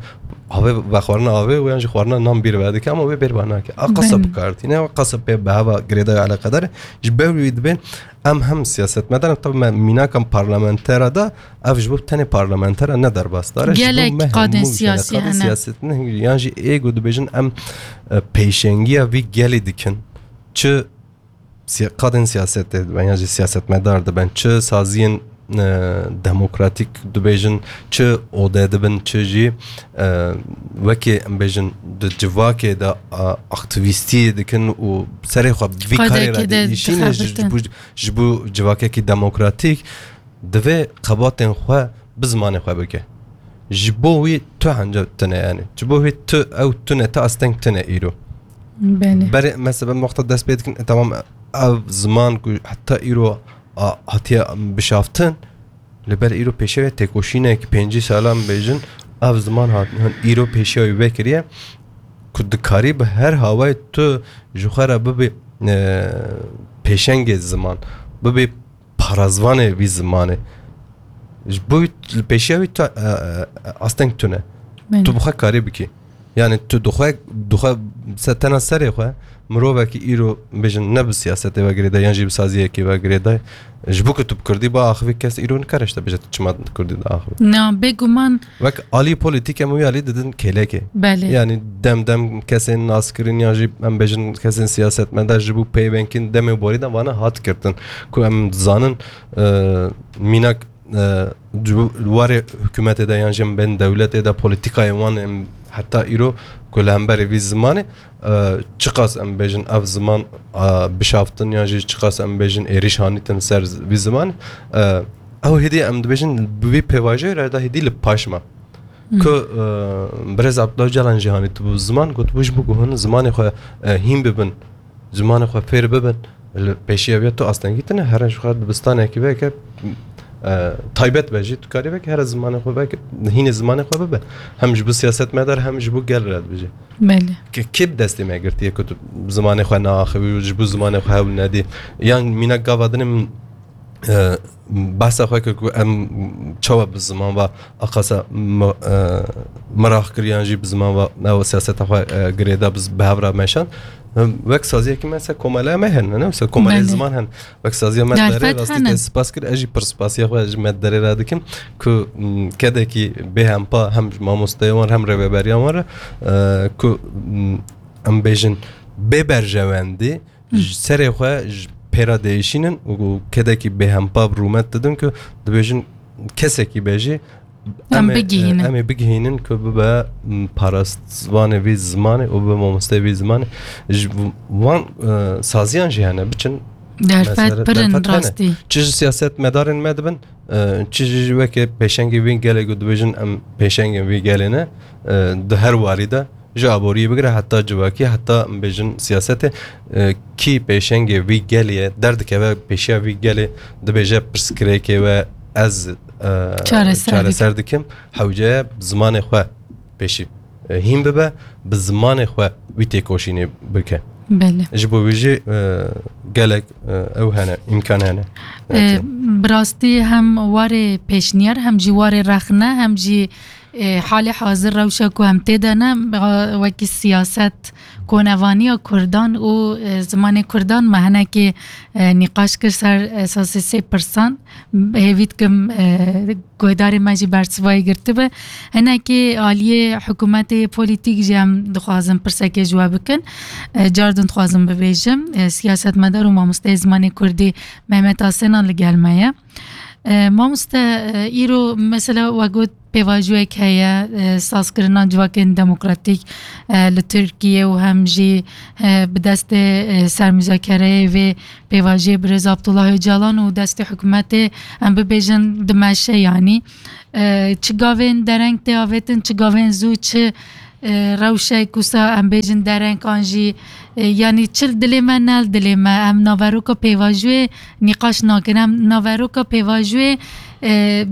avê vexwarina avê û yan jî xwarina nan bîr ve dike, ama wê bêr ve nake. A qasa Belê. bi kar tîne, a qasa pê bi heva girêdayî eleqedar e. Ji ber wî dibên em hem siyasetmedar, tabii me mînaka parlamentera da, ev ji bo tenê parlamentera ne derbasdar e. Ji bo Gelek me qadên hemû ji siyasî qadên hene. siyasetine, yan jî ê ku dibêjin em, e, pêşengiya vî gelê dikin. Çi siya-, qadên siyasetê dibe, yan jî siyasetmedar diben, çi saziyên, e, demokratîk dibêjin, çi ode dibin, çi jî, e, wekî em bêjin di civakê de, a, aktivîstiyê dikin û serê xwe vî karê re Qadekê de diêşîne ji, dixebitin. ji bo, ji bo civakekî demokratîk, divê xebatên xwe bi zimanê xwe bike. Ji bo wî tu hence tune, yani. Ji bo wî tu, ew tune, tu asteng tune îro. Belê. Berê, mesela, em wexta dest pê dikin, e, tamam, ev ziman ku heta îro a, hatiye bişaftin, li ber îro pêşiya wê têkoşînek pêncî salan bêjin, ev ziman hat, hin îro pêşiya wî vekiriye, ku dikarî bi her hawayê tu ji xwe re bibî, e, pêşengê ziman, bibî parazvanê vî zimanê. Ji bo wî, li pêşiya wî tu, e, e, asteng tune. Belê. Tu bi xwe karî bikî. Yani tu dixwe, dixwe se-, tena serê xwe, mirovekî îro bêjin ne bi siyasetê ve girêdayî, yan jî bi saziyekê ve girêdayî. Ji bo ku tu bi kurdî biaxivî, kes îro nikare ji te bêje tu çima bi kurdî diaxivî. Na, bêguman. Wek alî polîtîk em wî alî didin kêlekê. Belê. Yani dem dem kesên naskirin yan jî em bêjin kesên siyasetmedar ji bo peyvengkirîn demê borî de vana hat girtin. Ku em dizanin, e, mînak, e, ji bo warê hikûmetê de yan jî em bên dewletê de polîtîkayên wan em heta îro ku li hemberî vî zimanê, e, çiqas em bêjin ev ziman, e, bişaftin yan jî çiqas em bêjin êrîş hanîtin ser vî zimanê, e, ew hêdî em dibêjin bi vî pêvajoyê re da hêdî li paş me. Hmm. Ku, e, birêz Abdullah Ocalan jî hanî tu bi ziman gotibû ji bo ku hûn zimanê xwe, e, hîn bibin, zimanê xwe fêr bibin, li pêşiya vê tu astengî tune, here ji xwe dibistanekî veke, e, taybet be jî, tu karî veke, here zimanê xwe veke, hînê zimanê xwe bibe. Hem ji bo siyasetmedar, hem ji bo gel re dibêje. Belê. Ke-, kê bi destê me girtiye ku tu zimanê xwe naaxivî û ji bo zimanê xwe hewl nedî? Yan mînak gava din em, e, behsa xwe kir ku em çawa bi ziman ve aqasa mi-, e, miraq kir yan jî bi ziman ve ew siyaseta xwe, e, girêda bi z-, bi hev re meşand. Em, wek saziyekî me ser komeleya me hene, ne? Ser komeleyê Belê. ziman hene. Wek saziya me Derfet derê rastî hene. te spas kir, ez jî pir spasiya xwe ji me derê re dikim ku, m, kedekî bêhempa hem ji mamosteyê wan re hem rêveberiya wan re, e, ku, m, em bêjin bê berjewendî, Hmm. ji serê xwe ji pê re diêşînin û kedekî bêhempa bi rûmet didin ku dibêjin kesekî be jî Em em ê, bigihînin. em ê bigihînin ku bibe, m, parastvanê vî zimanê û bibe mamosteyê vî zimanê. Ji wan, e, saziyan jî hene, biçin Derfet mesele, pir in derfet hene. rastî. Çi ji siyasetmedarên me dibin, e, çi jî weke pêşengê vî gelê ku dibêjin em pêşengên vî gelê ne, e, di her warî de ji aboriyê bigire heta civakî, heta em bêjin siyasetê, e, kî pêşengê vî gelê ye, derdikeve pêşiya vî gelê dibêje pirsgirêkê we ez, e, Çareser çareser dikim. dikim. Hewce ye zimanê xwe pêşî, e, hîn bibe, bi zimanê xwe wî têkoşînê bike. Belê. Ji bo wî jî, e, gelek, e, ew hene, îmkan hene. E, Bi rastî hem warê pêşniyar, hem jî warê rexne, hem jî, e, halê hazir rewşa ku em tê de ne, wekî siyaset, konevaniya Kurdan û, e, zimanê Kurdan me hinekî, e, nîqaş kir ser esasê sê pirsan. Hêvî dikim, e, guhdarê me jî bersivayî girtibe. Hinekî aliyê hikûmetê polîtîk jî em dixwazin pirsekê ji we bikin. E, car din dixwazim bibêjim, e, siyasetmedar û mamosteyê zimanê Kurdî Mehmet Asena li gel me ye. E, mamoste, e, îro mesela we got, pêvajoyek heye, e, sazkirina civakên demokratîk, e, li Tirkiye û hem jî, e, bi destê, e, sermûzakereyê vê pêvajiyê birêz Abdullah Ocalan û destê hikûmetê, em bibêjin, dimeşe, yanî, e, çi gavên dereng tê avêtin, çi gavên zû, çi, e, rewşek wisa em bêjin dereng an jî, e, yanî çi li dilê me ne li dilê me. Em naveroka pêvajoyê nîqaş nakin. Em naveroka pêvajoyê, e,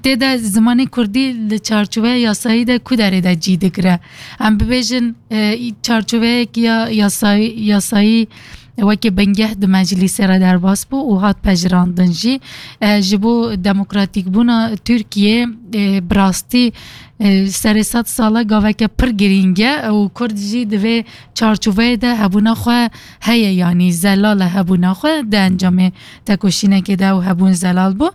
tê de zimanê kurdî li çarçoveya yasayî de ku derê de cî digire. Em bibêjin, e, çarçoveyek ya yasayî, yasayî wekî bingeh di meclîsê re derbas bû û hat pejirandin jî. E, ji bo demokratîkbûna Tirkiye, e, bi rastî, e, serê sed sala gaveke pir girîng e û Kurd jî di vê çarçoveyê de hebûna xwe heye, yanî zelal e hebûna xwe, di encamê tekoşînekê de ew hebûn zelal bû.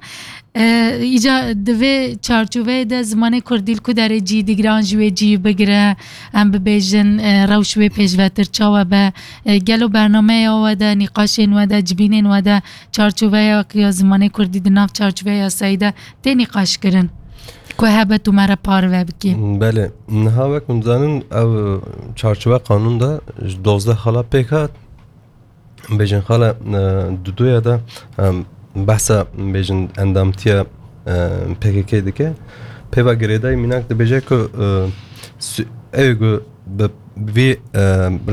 E, îca di vê çarçoveyê de zimanê kurdî li ku derê cî digire an jî wê cî bigire, em bibêjin, e, rewş wê pêşvetir çawa be, e, gelo bernameya we de, nîqaşên we de, cibînên we de çarçoveya ya zimanê kurdî di nav çarçoveya yasayî de tê nîqaşkirin ku hebe tu me re parve bikî? Belê. Niha wek hûn dizanin, ev çarçoveya qanûn de ji dozdeh xala pêk hat. Bêjin xala, e, duduya de, e, behsa, bêjin, endamtiya, e, P K K dike. Pêva girêdayî mînak dibêje ku, e, su-, ew ku bi vî, e,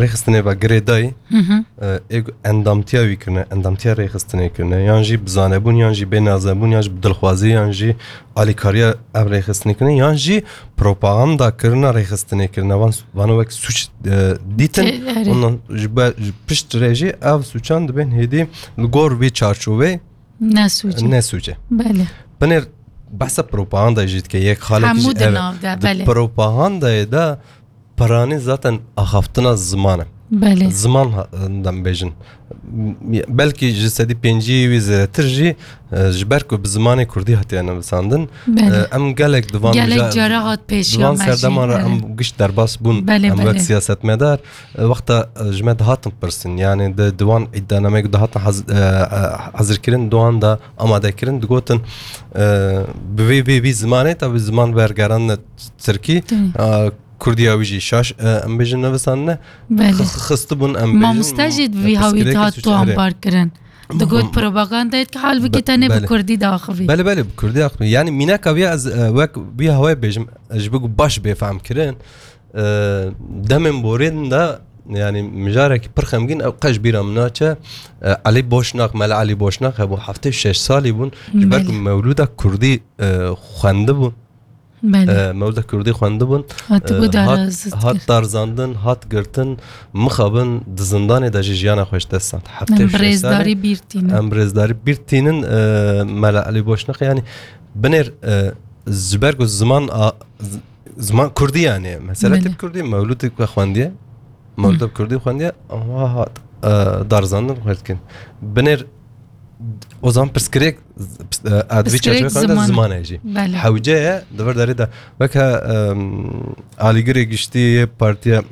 rêxistinê ve girêdayî, Hı hı. e, ê ku endamtiya wî kirine, endamtiya rêxistinê kirine, yan jî bi zanebûn, yan jî bê nazebûn, yan jî bi dilxwazî, yan jî alîkariya ev rêxistinê kirine, yan jî propaganda kirina rêxistinê kirine. Van, vano wek sûc, e, dîtin. Te-, erê. Ondan ji be-, ji pişt re jî ev sûcan dibên hêdî li gor vî çarçoveyê Ne sûc e. ne sûc e. Belê. Binêr behsa propaganda jî dike. Yek xalekî Hemû jî di ev, nav de, di belê. propagandayê de piranî zaten axaftina ziman e. Belê. Ziman ha-, dem bêjin. Belkî ji sedî pêncî wî zêdetir jî, e, ji ber ku bi zimanê kurdî hatiye nivisandin, Belê. e, em gelek di van Gelek mija-, cara hat pêşiya di van me jî, serdeman re evet. em giş derbas bûn, Belê, em wek belê. siyasetmedar, e, wexta, e, ji me dihatin pirsin, yani di, di wan îdianameyê ku dihatin haz-, e, e, hazirkirin, di wan de amadekirin, digotin, e, bi vê, vê, vî zimanê, tabi ziman bergeran tirkî, Tabii. e, Kurdiya wî jî şaş, e, em bêjin nivisandine, Belê. xi-, xi-, xistibûn, em bêjin, Mamoste jî di vî hawî pirsgirêkî hat suç, erê. tombar kirin. Digot Be-, propagandayê ki halbikî be-, tenê bi belê. kurdî diaxivî. Belê, belê, bi kurdî axivî. Yani mînaka vî ez, e, wek vî hawayê bêjim, e, ji bo ku baş bê fehm kirin, e, demên borîn de, yani mijarekî pir xemgîn ew qe ji bîra min naçe, e, Elî Boşnak, Mela Elî Boşnak hebû, heftê şeş salî bûn, ji ber ku Belê. mewlûda kurdî, e, xwendibûn. Belê. E, mewlida kurdî xwendibûn. Hatibû E, hat, darazit hat kir. darzandin, hat girtin, mixabin di zindanê de jî jiyana xwe ji dest da. Heftê û şeş salî. Em bi rêzdarî bîr tînin. Em bi rêzdarî bîr tînin, e, Mela Elî Boşnak, yani binêr, e, ji ber ku ziman a, z-, ziman kurdî yani. Mesele Belê. tip kurdî, mewlûdê ku xwendiye. Mewlûda bi kurdî xwendiye, ha, hat, e, darizandin xwend dikin. Binêr o zaman pirsgirêk, e, edvî Pirsgirêk çerçeve xwendin ziman. ziman e jî. Belê. Hewce ye, di vir derê de weke, e, alîgirê giştî yê partiya, m,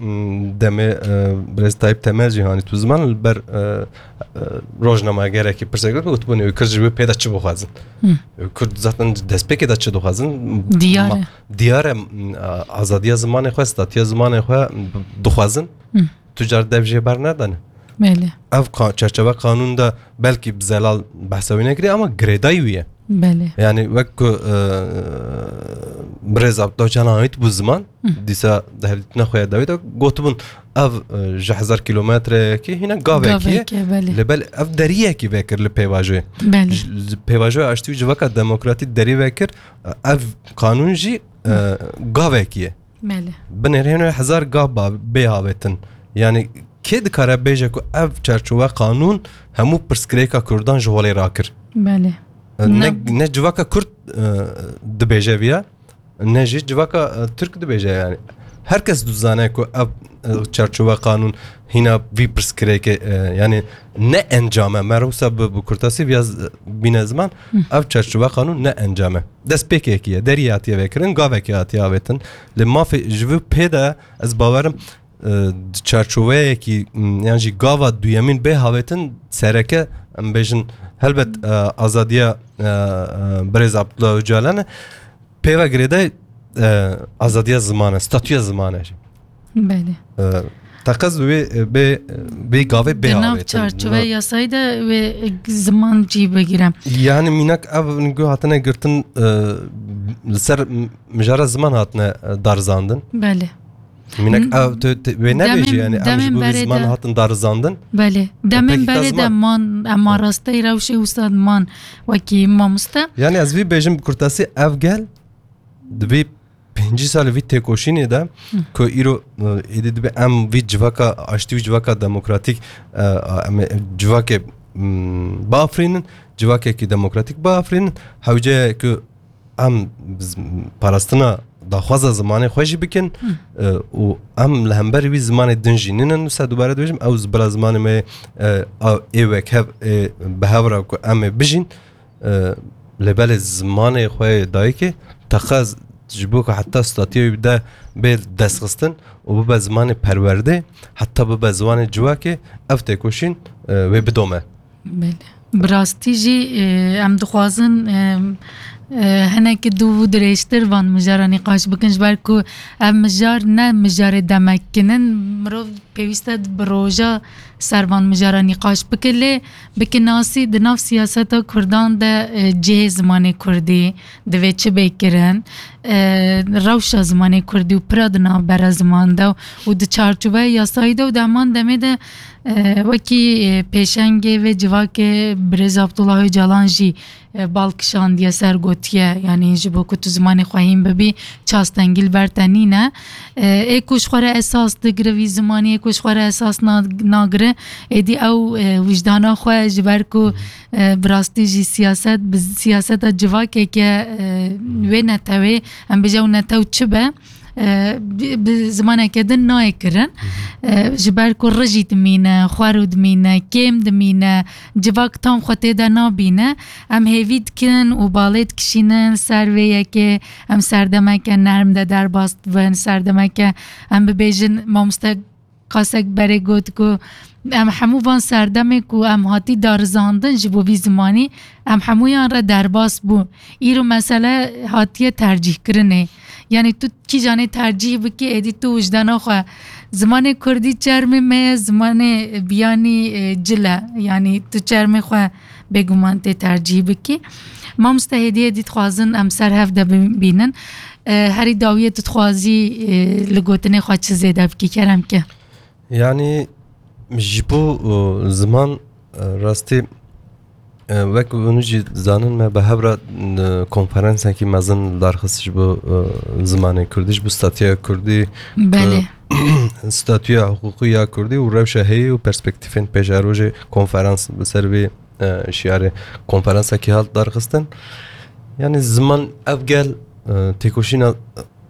demê, e, birêz Tayyip Temel jî hanî tu ziman li ber, e, e, rojnamegerekî pirsek gotin, gotibûn, ew Kurd ji wê pê de çi bixwazin? Hı. Ew Kurd zaten destpêkê de çi dixwazin? Diyar Ma-, e. diyar e, m, a, azadiya zimanê xwe, statiya zimanê xwe dixwazin. Hı. Tu car dev jê bernedane. Belê. Ev ka-, çerçeve qanûn de belkî bi zelal behsa wî nekirî ama girêdayî wî ye. Belê. Yani wek ku, e, birêz Abdullah Ocalan ait bû ziman, Hı. dîsa di hevdîtina xwe ya dawî de gotibûn, ev, e, ji hezar kilometreyekî hîne gavekî ye. Gavekî ye, belê. Lê belê ev deriyekî vekir li pêvajoyê. Belê. Ji, ji pêvajoya aştî û civaka demokratî derî vekir, e, ev qanûn jî, e, gavekî ye. Belê. Binêrîne hezar gav ba-, bê havetin. Yani kê dikare bêje ku ev çerçowe qanûn hemû pirsgirêka Kurdan ji holê rakir? Belê. E, ne, Ne- ne civaka Kurd, e, dibêje viya, ne jî civaka, e, Tirk dibêje yani. Her kes dizane ku ev, e, çerçowe qanûn hîna vî pirsgirêkê, e, yani ne encame. Me re wisa bi, bi kurtasî viya z-, bîne ziman, Hı. ev çerçowe qanûn ne encame. Destpêkekî ye, derî hatiye vekirin, gavekê hatiye avêtin. Lê mafê ji vî pê de ez bawerim, e, di çarçoveyekî, m, yan jî gava duyemîn bê havêtin sereke, em bêjin, helbet, e, azadiya, e, e, birêz Abdullah Ocalan e. Peyva girêdayî, e, azadiya ziman e, statûya ziman e jî. Belê. E, teqez wê, e, bê, bê gavê bê Di nav avêtin. Çarçoveya yasayî de wê ziman cî bigire. Yani mînak ev nîgo hatine girtin, e, li ser m-, mijara ziman hatine, e, darizandin. Belê. Mînak N-, ev tu, tu, wê nebêjî demên, yani, em demên ji bo vî berê ziman de hatin darizandin. Belê. Demên Pekî berê de kazma. Man, em rastey rewşê wisa man wekî mamoste. Yani ez vî bêjim bi kurtasî ev gel di vî pêncî salê vî têkoşînê de Hı. ku îro, e, êdî dibe em vî civaka aştî, vî civaka demokratîk, e, em ê civakê, mm, biafirînin, civakekî demokratîk biafirînin, hewce ye ku em z-, parastina daxwaza zimanê xwe jî bikin, Hı. e, û em li hember wî zimanê din jî nînin, wisa dubare dibêjim, ew bila zimanê me, e, a, ê wekhev, ê bi hev re ku em ê bijîn, e, lê belê zimanê xwe yê dayikê teqez ji bo ku heta statîya wî bide bê destxistin û bibe zimanê perwerdê, heta bibe zimanê civakê, ev têkoşîn, e, wê bidome. Belê. Bi rastî jî, e, em dixwazin, e, e, hinekî dû û dirêjtir van mijara nîqaş bikin, ji ber ku ev mijar ne mijarê demek kin in, mirov pêwîst e bi roja ser van mijara nîqaş bike, lê bi kinasî di nav siyaseta Kurdan de, e, cihê zimanê Kurdî divê çi bê kirin, e, rewşa zimanê Kurdî û pira di navbera ziman de û di çarçoveya yasayî de û di heman demê de, e, wekî, e, pêşengê vê civakê birêz Abdullah Ocalan jî, e, bal kişandiye ser, gotiye, yanî ji bo ku tu zimanê xwe hîn bibî, çastengî li ber te nîne. E, ê ku ji xwe re esas digire vî zimanî, ê ku ji xwe re esas na-, nagire, êdî ew, e, wijdana xwe, ji ber ku, e, bi rastî jî siyaset, bi siyaseta civakeke, e, wê netewê, em bêje ew netew çi be, e, bi, bi zimaneke din nayê kirin. E, ji ber ku rijî dimîne, xwerû dimîne, kêm dimîne, civak tam xwe tê de nabîne. Em hêvî dikin û balê dikişînin ser vê yekê. Em serdemeke nerm de derbas dibin, serdemeke, em bibêjin, mamoste Qasek berê got ku em hemû van serdemê ku em hatî darizandin ji bo vî zimanî, em hemûyan re derbas bû. Îro mesele hatiye tercîhkirinê. Yanî tu kîjanê tercîh bikî, êdî tu wijdana xwe. Zimanê kurdî çermê me ye, zimanê biyanî, e, cil e. Yanî tu çermê xwe bêguman tê tercîh bikî. Mamoste, hêdî hêdî dixwazin em ser hev de bibînin. E, herî dawiyê tu dixwazî, e, li gotinê xwe çi zêde bikî, kerem ke? Yani ji bo, e, ziman, e, rastî, e, wek hûn jî zanin me bi hev re, e, konferansekî mezin li dar xist ji bo, e, zimanê kurdî, ji bo statuya kurdî, Belê. e, statuya hiqûqî ya kurdî û rewşa heyî û perspektîfên pêşerojê konferans bi ser vê, e, şiyarê konferansekî hat dar xistin. Yani ziman ev gel, e, têkoşîna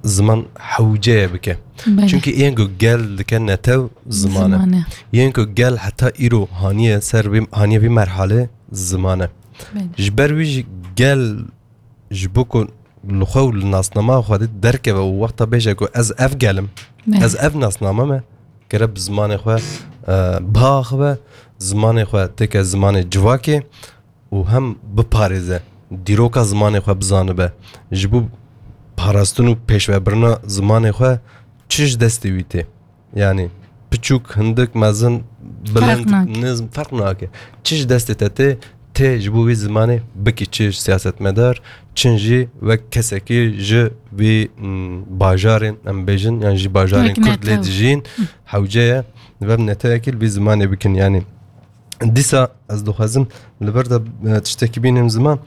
ziman hewce ye bike. Belê. Çunkî yên ku gel dike netew ziman e. Ziman e. Yên ku gel heta îro haniye ser vê, haniye vî merhalê ziman e. Belê. Ji ber wî jî gel ji bo ku li xwe û li nasnama xwe de derkeve û wexta bêje ku ez ev gel im, Belê. ez ev nasname me, gere bi zimanê xwe, e, biaxive, zimanê xwe têke zimanê civakê û hem biparêze, dîroka zimanê xwe bizanibe. Ji bo parastin û pêşvebirina zimanê xwe çi ji destê wî tê? Yani piçûk, hindik, mezin, bilind, Ferq nake. nizm, ferq nake. Çi ji destê te tê, tê ji bo wî zimanê bikî çi siyasetmedar, çin jî wek kesekî ji vî, mm, bajarên, em bêjin, yan jî bajarên Wek Kurd lê netew. dijîn, Hı. hewce ye, li vem netewekî li vî zimanê bikin. Yani dîsa ez dixwazim li vir de, e, tiştekî bînim ziman.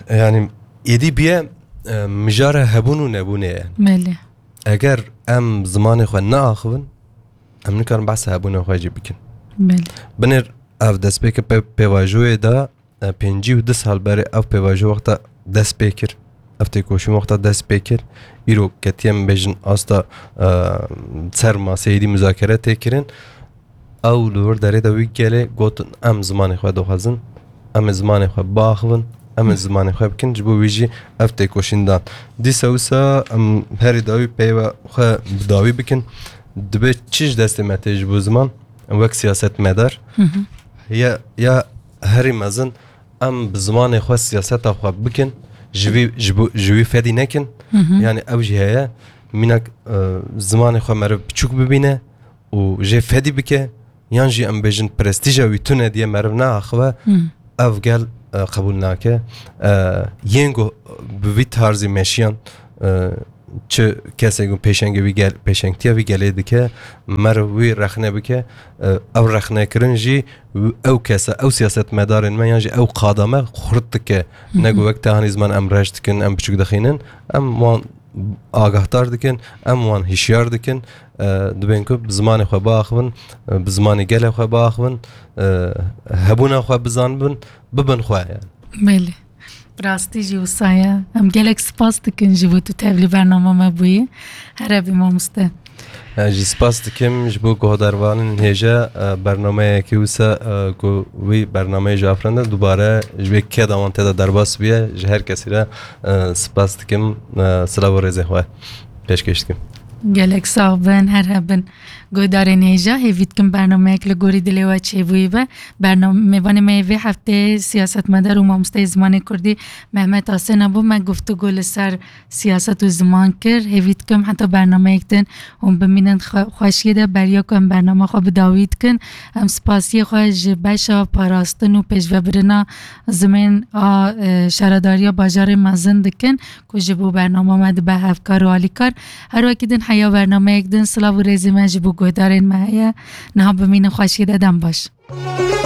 Yani êdî bûye, e, mijara hebûn û nebûnê ye. Belê. Eger em zimanê xwe neaxivin, em nikarin behsa hebûna xwe jî bikin. Belê. Binêr ev destpêke pê-, pêvajoyê de, e, pêncî û du sal berê ev pêvajo wexta dest pê kir, ev têkoşîn wexta dest pê kir, îro ketiye, em bêjin, asta, e, ser maseyê dî muzakere tê kirin. Ew li wir derê de wî gelê gotin, em zimanê xwe dixwazin, em ê zimanê xwe biaxivin, em ê zimanê xwe bikin, ji bo wî jî ev têkoşîn dan. Dîsa wisa em herî dawî peyva xwe bi dawî bikin. Dibe çi ji destê me tê ji bo ziman, wek siyasetmedar? Hı hı. Ya, ya herî mezin em bi zimanê xwe siyaseta xwe bikin, ji vî, ji bo, ji wî fedî nekin. Hı hı. Yani ew jî heye, mînak, e, zimanê xwe meriv piçûk bibîne û jê fedî bike, yan jî em bêjin prestîja wî tune diye meriv neaxive, Hı. ev gel, e, qebûl nake. E, yên ku bi vî tarzî meşiyan, e, çi kesê ku pêşengê wî gel, pêşengtiya vî gelê dike, meriv wî rexne bike, e, ev rexnekirin jî ew kese, ew siyasetmedarên me yan jî ew qada me xurt dike. Hı hı. Ne ku wek te hanî ziman em reş dikin, em piçûk dixînin, em wan agahdar dikin, em wan hişyar dikin, e, dibên ku bi zimanê xwe biaxivin, e, bi zimanê gelê xwe biaxivin, e, hebûna xwe bizanibin, bibin xwe yani. Belê. Bi rastî jî wisa ye. Em gelek spas dikin ji bo tu tevlî bernama me bûyî. Here bî mamoste. Ez jî spas dikim ji bo guhdarvanên hêja, e, bernameyekî wisa, e, ku wî bernameyê ji afirandin dubare ji vê keda wan tê de derbas bûye, ji her kesî re, e, spas dikim, e, silav û rêzê xwe pêşkêş dikim. Gelek sax bin, her hebin. Guhdarên hêja, hêvî dikim bernameyek li gorî dilê we çêbûyî be. Bername-, mêvanê me yê vê hefteyê siyasetmedar û mamosteyê zimanê kurdî Mehmet Asena bû. Me guftûgo li ser siyaset û ziman kir. Hêvî dikim heta bernameyek din hûn bimînin xwe-, xweşiyê de. Beriya ku em bernama xwe bi dawî dikin, em spasiyê xwe ji beşa parastin û pêşvebirina zimên a, e, şaredariya bajarê mezin dikin ku ji bo bernama me dibe hevkar û alîkar. Her wekî din heya bernameyek din silav û rêzê me ji bo guhdarên me heye. Niha bimînin xweşiyê de, dem baş.